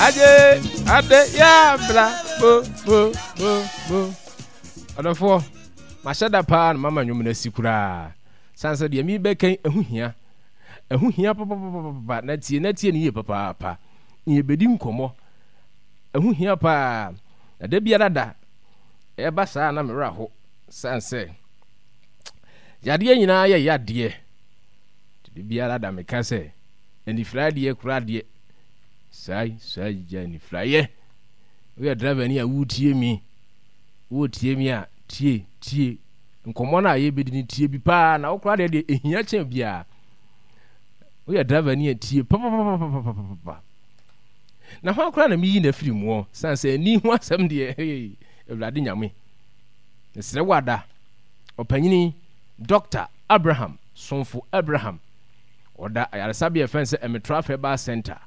Agye ade yɛ abra bo bo bo bo. Ɔdɔfoɔ, mahyɛ da paa na mama nnwom no asi koraa. Sane sɛ deɛ mebɛka yi, ɛho hia. Ɛho hia papapapapa na tie na tie no yie papaapa. Na yɛbɛdi nkɔmmɔ. Ɛho hia paa. Na da biara da, ɛba saa na me werɛ aho. Sane sɛ yadeɛ nyinaa yɛ yadeɛ. Da biara da meka sɛ anifiraeɛ deɛ koraa deɛ saa saa gya anifiraeɛ. Woyɛ driver ni a woretie mi, woretie mi a tie tie nkɔmmɔ no a yɛbɛdi no tie bi paa na wo koraa deɛ deɛ ɛhia kyɛn biara. Woyɛ driver ni a tie papapapapapapa. Na hwan koraa na meyi no afiri muɔ sane sɛ ani ho asɛm deɛ hey, Awurade Nyame. Mesrɛ wo ada ɔpanyini Dɔkta Abraham Somfo Abraham. Ɔda ayaresabea a yɛfrɛ no sɛ Ɛmetra Herbal Centre.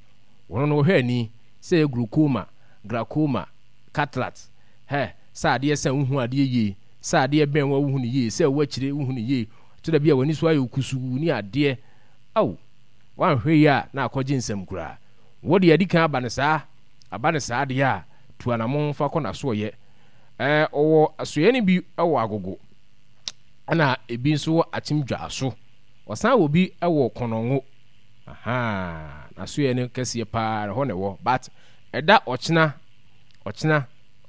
Wɔno no wɔhwɛ ani sɛ ɛyɛ glaucoma, glaucoma, cataract, hɛ, sɛ adeɛ sa wohu adeɛ yie, sɛ adeɛ bɛn wo a wohu no yie, sɛ ɛwɔ akyire wohu no yie, ɛtɔ da bi a w'ani so ayɛ wo kusuu ne adeɛ. Ao, woanhwɛ yie a na akɔgye nsam koraa. Wo deɛ adi kan aba no saa, aba no saa deɛ a, tu anamɔn fa kɔ n'asoɔyɛ. Ɛɛ, ɔwɔ asoɛeɛ no bi wɔ Agogo, ɛna ebi nso wɔ Akyem Dwaso. Ɔsan wɔ bi wɔ Kɔnɔngo. Ahaa, n'asoɛeɛ no kɛseɛ paa ɛhɔ na ɛwɔ. But ɛda ɔkyena, ɔkyena.